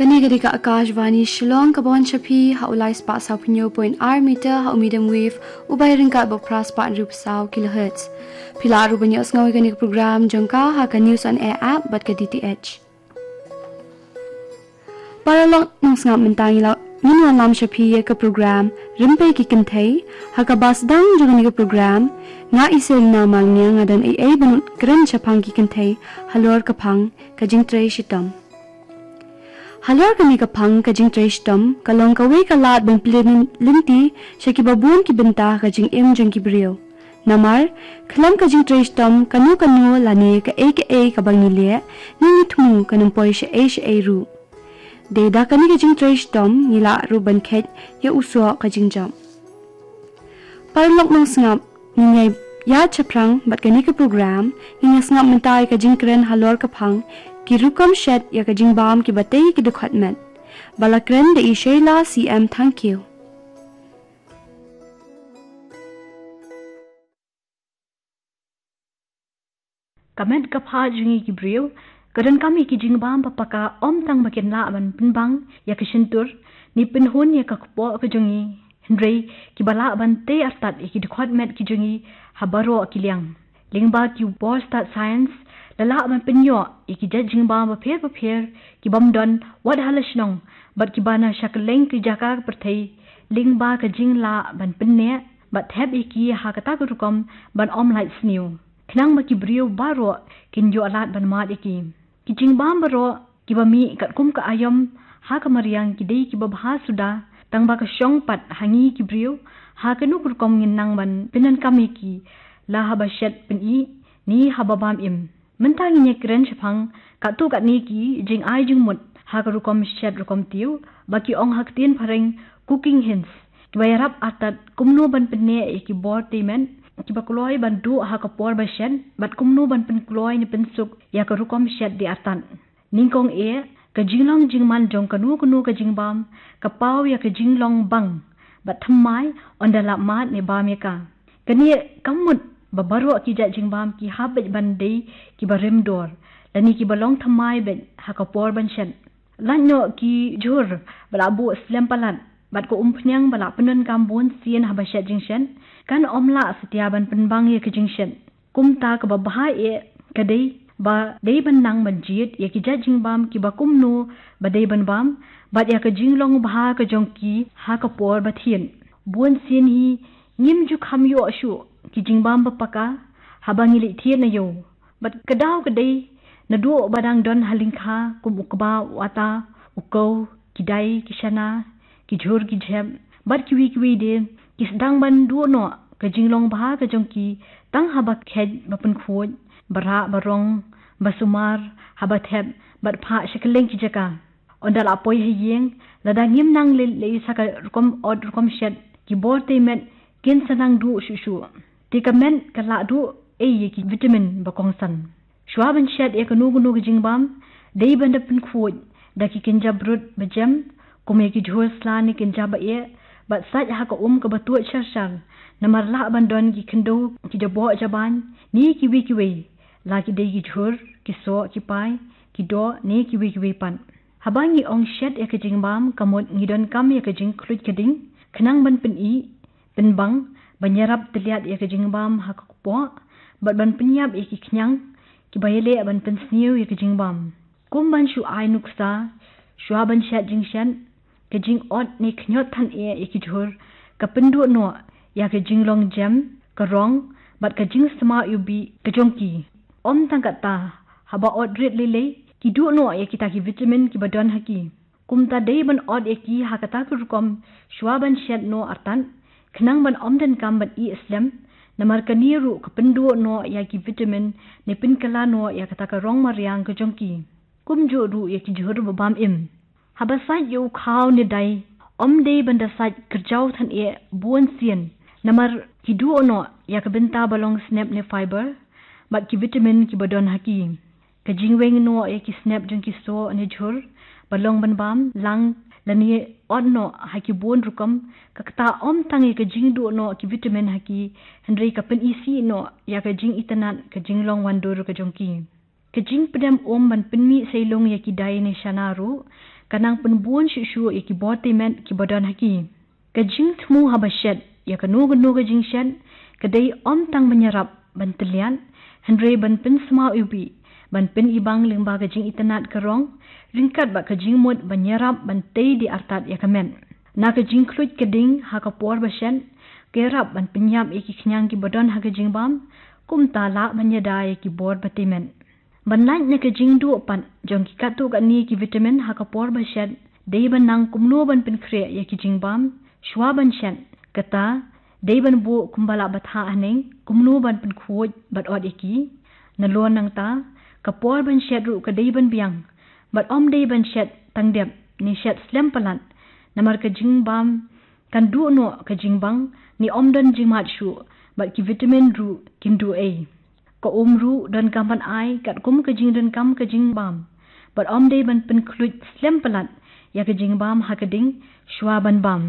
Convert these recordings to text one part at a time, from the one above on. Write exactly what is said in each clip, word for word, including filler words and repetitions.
Kane ka dei ka Akashvani Shillong, ka ban sha phi ha u lai spah saw phew point ar meter ha u medium wave u bai ryngkat bad phra spah hynriew phew saw kilohertz. Phi lah ruh ban ïohsngew ïa kane ka program jong ka ha ka News on Air app bad ka D T H. Paralok nongsngap, mynta ngi la ngin wanlam sha phi ïa ka program Rympei ki Kynthei. Ha kaba sdang jong kane ka program, nga i Selina Malngiang nga don ei ei ban kren shaphang ki kynthei halor ka phang ka jingtrei shitom. Halor kane ka phang ka jingtrei shitom ka long kawei ka lad ban plie lynti sha kiba bun ki bynta ka jingim jong ki briew. Namar khlem ka jingtrei shitom kano kano lane kaei kaei kaba ngi leh, ngi ngi thmu kan ym poi shaei shaei ruh. Dei da kane ka jingtrei shitom ngi lah ruh ban kheit ïa u soh ka jingjop. Paralok nongsngap, ngin ïa ïa shaphrang bad kane ka program, ngin ïa sngap mynta ïa ka jingkren halor ka phang ki rukom shet ïa ka jingbam kiba tei ki dkhot met. Ba la kren da i Sheila C M Thangkhiew. Ka met ka phad jong ngi ki briew ka donkam ïa ki jingbam ba paka, ym tang ba kin lah ban pynbang ïa ka shyntur ne pynhun ïa ka kpoh ka jong ngi, hynrei kiba lah ban tei artat ïa ki dkhot met ki jong ngi ha baroh ki liang. Lyngba ki bor stad science la lah ban pynïoh ïa ki jait jingbam bapher bapher ki bym don wat ha la shnong bad kiba na sha kylleng ki jaka ka pyrthei, lyngba ka jinglah ban pynneh bad thep ïa ki ha kata ka rukom ban ym lait sniew, khnang ba ki briew baroh kin ïoh lad ban mad ïa ki. Ki jingbam baroh kiba mih katkum ka aïom ha ka mariang ki dei kiba bha suda, tang ba ka shong pat ha ngi ki briew ha kano ka rukom ngin nang ban pyndonkam ïa ki, la haba shet pyni ne haba bam im. Mynta ngin ïa kren shaphang katto katne ki jingai jingmut ha ka rukom shet rukom tiew, ba ki ong ha ka ktien phareng cooking hints, kiba ïarap artat kumno ban pynneh ïa ki bor tei met kiba kloi ban duh ha ka por ba shet bad kumno ban pynkloi ne pynsuk ïa ka rukom shet dei artat. Nyngkong eh, ka jinglong jingman jong kano kano ka jingbam ka paw ïa ka jinglong bang bad thymmai ynda la mad ne bam ïa ka. Kane ka mut ba baroh ki jait jingbam ki hap beit ban dei kiba rim dor lane kiba long thymmai beit ha ka por ban shet. Lait noh ki jhur ba la buh slem palat bad ka umphniang ba la pyndonkam bun sien haba shet jingshet kan ym lah satia ban pynbang ïa ka jingshet. Kumta kaba bha eh ka dei ba dei ban nang ban jied ïa ki jait jingbam kiba kumno ba dei ban bam bad ïa ka jinglong bha ka jong ki ha ka por ba thied. Bun sien hi ngim ju kham ïoh shuh ki jingbam ba paka haba ngi leit thied na ïew. Bad ka daw ka dei naduh ba dang don ha lyngkha kum u kba, u ata, u kew, ki dai, ki shana, ki jhur ki jhep bad kiwei kiwei de, ki sdang ban duh noh ka jinglong bha ka jong ki tang haba kheit ba pynkhuid, ba rah ba rong, ba sumar, haba thep bad phah sha kylleng ki jaka. Ynda la poi ha ïing, lada ngim nang leit leit sa ka rukom ot rukom shet, ki bor tei met kin sa nang duh shuh shuh. Te ka met ka lah duh ei ïa ki vitamin ba kongsan. Shuwa ban shet ïa kano kano ka jingbam, dei ban da pynkhuid da ki kynja brut ba jem, kum ïa ki jhur sla ne kynja ba eh, bad sait ha ka um kaba tuid shar shar. Namar lah ban don ki khyndew, ki jaboh jaban ne kiwei kiwei, la ki dei ki jhur, ki soh, ki pai, ki doh ne kiwei kiwei pat. Haba ngi ong shet ïa ka jingbam ka mut ngi donkam ïa ka jingkhluit ka ding khnang ban pyni, pynbang, ban ïarap tylliat ïa ka jingbam ha ka kpoh bad ban pynïap ïa ki khñiang kiba ïaleh ban pynsniew ïa ka jingbam. Kum ban shu ai nuksa, shuwa ban shet jingshet, ka jingot ne khñiot than eh ïa ki jhur ka pynduh noh ïa ka jinglong jem, ka rong bad ka jingsma ïubih ka jong ki. Ym tang katta, haba ot rit lei lei ki duh noh ïa kita ki vitamin kiba don ha ki. Kumta dei ban ot ïa ki ha kata ka rukom shuwa ban shet noh artat khnang ban ym donkam ban ih slem. Namar kane ruh ka pynduh noh ïa ki vitamin ne pynkylla noh ïa kata ka rong mariang ka jong ki. Kumjuh ruh ïa ki jhur ba bam im. Haba sait ïa u khaw ne dai, ym dei ban da sait kyrjaw than eh bun sien. Namar ki duh noh ïa ka bynta ba long snep ne fiber bad ki vitamin kiba don ha ki. Ka jingweng noh ïa ki snep jong ki soh ne jhur ba long ban bam lang lane ot noh ha ki bun rukom, ka kata ym tang ïa ka jingduh noh ki vitamin ha ki, hynrei ka pynisih noh ïa ka jingitynnad, ka jinglong wandur ka jong ki. Ka jingpdem um ban pynmih seilung ïa ki dai ne shana ruh ka nang pynbun shuh shuh ïa ki bor tymmen ki ba don ha ki. Ka jingthmu haba shet ïa kano kano ka jingshet ka dei ym tang ban ïarap ban tylliat, hynrei ban pynsmaw iwbih, ban pynibang lyngba ka jingitynnad ka rong, ryngkat bad ka jingmut ban ïarap ban tei die artat ïa ka met. Na ka jingkhluit ka ding ha ka por ba shet, ka ïarap ban pynïap ïa ki khñiang ki ba don ha ka jingbam, kumta lah ban ïada ïa ki bor ba tymmen. Ban lait na ka jingduh pat jong ki katto katne ki vitamin ha ka por ba shet, dei ban nang kumno ban pynkhreh ïa ki jingbam shuwa ban shet. Kata dei ban buh kumba lah batai haneng, kumno ban pynkhuid bad ot ïa ki. Nalor nangta, ka por ban shet ruh ka dei ban biang, bad ym dei ban shet tang dep ne shet slem palat, namar ka jingbam kan duh noh ka jingbang ne ym don jingmad shuh, bad ki vitamin ruh kin duh ei. Ka um ruh donkam ban ai katkum ka jingdonkam ka jingbam, bad ym dei ban pynkhluit slem palat ïa ka jingbam ha ka ding shuwa ban bam.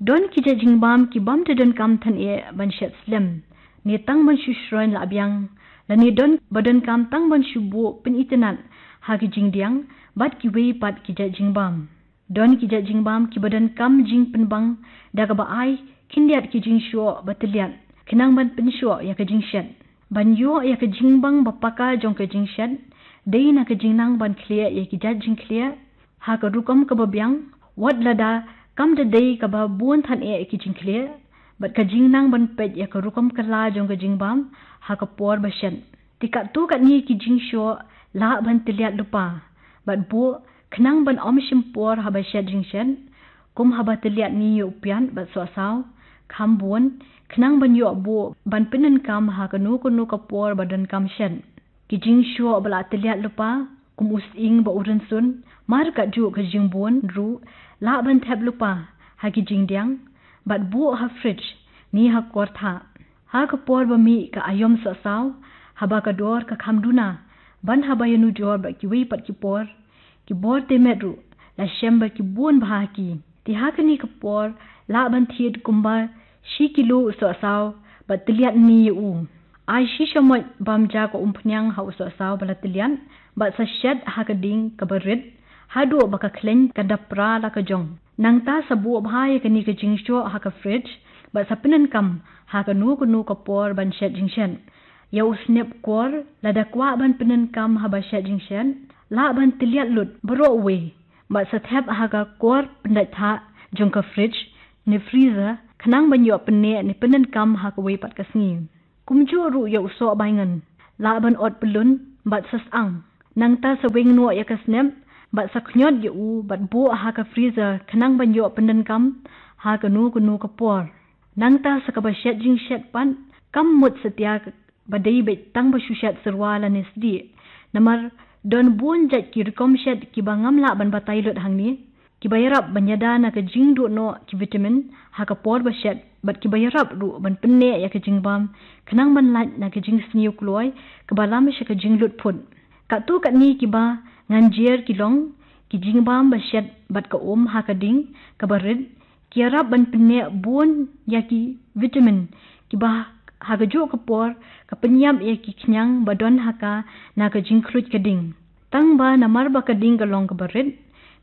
Don ki jait jingbam ki bym da donkam than eh ban shet slem, ne tang ban shu shroiñ la biang, lane don ba donkam tang ban shu buh pynitynnad ha ki jingdiang bad kiwei pat ki jait jingbam. Don ki jait jingbam ki ba donkam jingpynbang da kaba ai khyndiat ki jingshoh ba tylliat khnang ban pynshoh ïa ka jingshet. Ban ïoh ïa ka jingbang ba paka jong ka jingshet, dei na ka jingnang ban khlieh ïa ki jait jingkhlieh ha ka rukom kaba biang, wat lada kam da dei kaba bun than eh ki jingkhlieh, bad ka jingnang ban peit ïa ka rukom kylla jong ka jingbam ha ka por ba shet. Te katto katne ki jingshoh lah ban tylliat lypa bad buh khnang ban ym shim por haba shet jingshet, kum haba tylliat ne ïa u piat bad sohsaw, kham bun, khnang ban ïoh buh ban pyndonkam ha kano kano ka por ba donkam shet. Ki jingshoh ba la tylliat lypa, kum u sying bad u rynsun, markatjuh ka jingbun ruh, lah ban thep lypa ha ki jingdiang bad buh ha fridge ne ha kor thah. Ha ka por ba mih ka aïom sohsaw, haba ka dor ka kham duna, ban haba ïanujor bad kiwei pat ki por, ki bor tymmen ruh la shem ba ki bun bha ha ki. Te ha kane ka por lah ban thied kumba shi kilo u sohsaw bad tylliat ne ïa u. Ai shi shamoit bam ja ka umphniang ha u sohsaw ba la tylliat bad sa shet ha ka ding kaba rit haduh ba ka khleiñ kan da pra la ka jong. Nangta sa buh bha ïa kane ka jingshoh ha ka fridge bad sa pyndonkam ha kano kano ka por ban shet jingshet. Ïa u snep kor, lada kwah ban pyndonkam haba shet jingshet, lah ban tylliat lut baroh uwei bad sa thep ha ka kor pyndait thah jong ka fridge ne freezer, khnang ban ïoh pynneh ne pyndonkam ha kawei pat ka sngi. Kumjuh ruh ïa u soh baingan, lah ban ot pyllun bad sa syang. Nangta sa weng noh ïa ka snep bad sa khñiot ïa u bad buh ha ka freezer khnang ban ïoh pyndonkam ha kano kano ka por. Nangta sa kaba shet jingshet pat, kam mut satia ba dei beit tang ba shu shet syrwa lane sdieh. Namar don bun jait ki rukom shet kiba ngam lah ban batai lut hangne, kiba ïarap ban ïada na ka jingduh noh ki vitamin ha ka por ba shet, bad kiba ïarap ruh ban pynneh ïa ka jingbam khnang ban lait na ka jingsniew kloi kaba lam sha ka jinglut phut. Katto katne kiba ngan jer ki long ki jingbam ba shet bad ka um ha ka ding kaba rit, ki ïarap ban pynneh bun ïa ki vitamin kiba ha kajuh ka por ka pynïap ïa ki khñiang ba don ha ka na ka jingkhluit ka ding. Tang ba namar ba ka ding ka long kaba rit,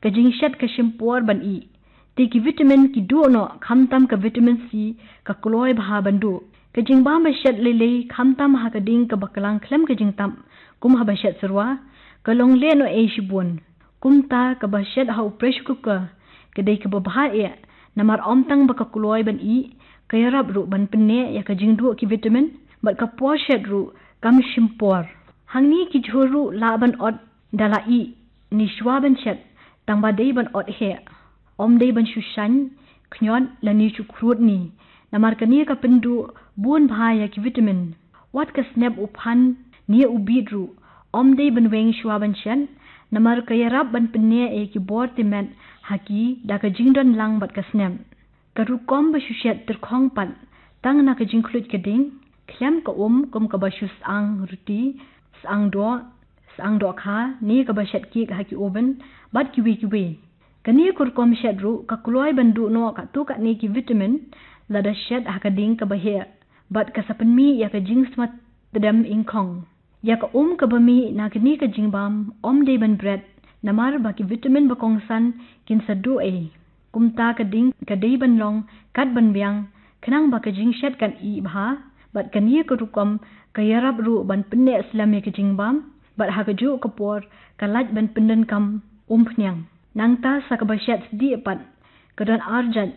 ka jingshet ka shim por ban ih. Te ki vitamin ki duh noh, khamtam ka vitamin C ka kloi bha ban duh. Ka jingbam ba shet lei lei, khamtam ha ka ding kaba klang khlem ka jingtap, kum haba shet syrwa, ka long lehnohei shibun. Kumta kaba shet ha u pressure cooker ka dei kaba bha eh, namar ym tang ba ka kloi ban ih, ka ïarap ruh ban pynneh ïa ka jingduh ki vitamin, bad ka por shet ruh kam shim por. Hangne ki jhur ruh lah ban ot da la ih ne shuwa ban shet, tang ba dei ban ot heh. Ym dei ban shu shaiñ, khñiot lane shu khrud ne, namar kane ka pynduh bun bha ïa ki vitamin. Wat ka snep u phan ne u bit ruh, ym dei ban weng shuwa ban shet, namar ka ïarap ban pynneh ïa ki bor tymmen ha ki da ka jingdon lang bad ka snep. Ka rukom ba shu shet tyrkhong pat, tang na ka jingkhluit ka ding, khlem ka um kum kaba shu syang ruti, syang doh, syang dohkha, ne kaba shet kek ha ki oven, bad kiwei kiwei. Kane ka rukom shet ruh ka kloi ban duh noh katto katne ki vitamin lada shet ha ka ding kaba heh, bad ka sa pynmih ïa ka jingsma tdem ingkhong. Ïa ka um kaba mih na kane ka jingbam, ym dei ban bret Namar ba ki vitamin ba kongsan kin sa duh ei. Kumta ka ding ka dei ban long kat ban biang, khnang ba ka jingshet kan ih bha, bad kane ka rukom ka ïarap ruh ban pynneh slem ïa ka jingbam, bad ha kajuh ka por ka lait ban pyndonkam umphniang. Nangta sa kaba shet sdieh pat, ka don arjait,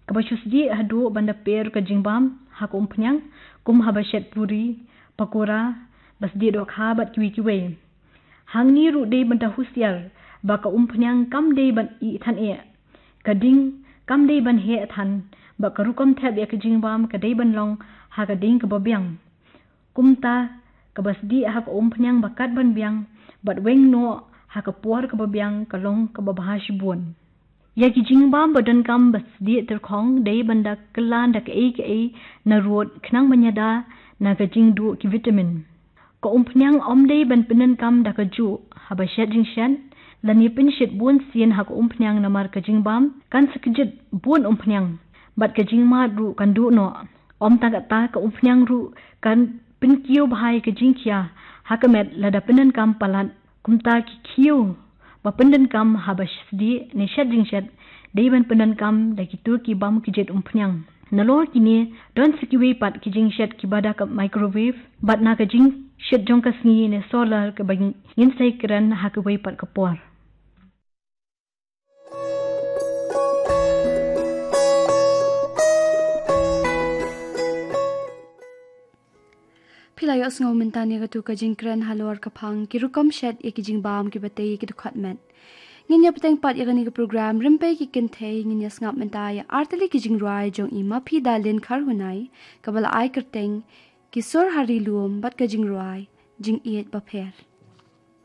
kaba shu sdieh haduh ban da per ka jingbam ha ka umphniang, kum haba shet puri, pakora, ba sdieh dohkha bad kiwei kiwei. Hangne ruh dei ban da husiar ba ka umphniang kam dei ban ih than eh. Ka ding kam dei ban heh than, ba ka rukom thep ïa ka jingbam ka dei ban long ha ka ding kaba biang. Kumta kaba sdieh ha ka umphniang ba kat ban biang, bad weng noh ha ka por kaba biang ka long kaba bha shibun. Ïa ki jingbam ba donkam ba sdieh tyrkhong dei ban da kylla da kaei kaei na rud khnang ban ïada na ka jingduh ki vitamin. Ka umphniang ym dei ban pyndonkam da kajuh haba shet jingshet, lane pynshit bun sien ha ka umphniang namar ka jingbam kan sa kjit bun umphniang, bad ka jingmad ruh kan duh noh. Ym tang katta, ka umphniang ruh kan pynkiew bha ïa ka jingkhia ha ka met lada pyndonkam palat. Kumta ki khiew ba pyndonkam haba sdieh ne shet jingshet dei ban pyndonkam da kito ki bym kjit umphniang. Nalor kine, don sa kiwei pat ki jingshet kiba da ka microwave, bad na ka jingshit jong ka sngi ne solar kaba ngin sa ïakren ha kawei pat ka por. Phi la ïohsngew mynta ïa katu ka jingkren halor ka phang ki rukom shet ïa ki jingbam kiba tei ïa ki dkhot met. Ngin ïa bteng pat ïa kane ka program, rympei ki kynthei ngin ïa sngap mynta ïa artylli ki jingrwai jong i Maphi Dalin Kharhunai, kaba la ai kyrteng Ki Sur ha Ri Lum bad ka jingrwai Jingïeit Bapher.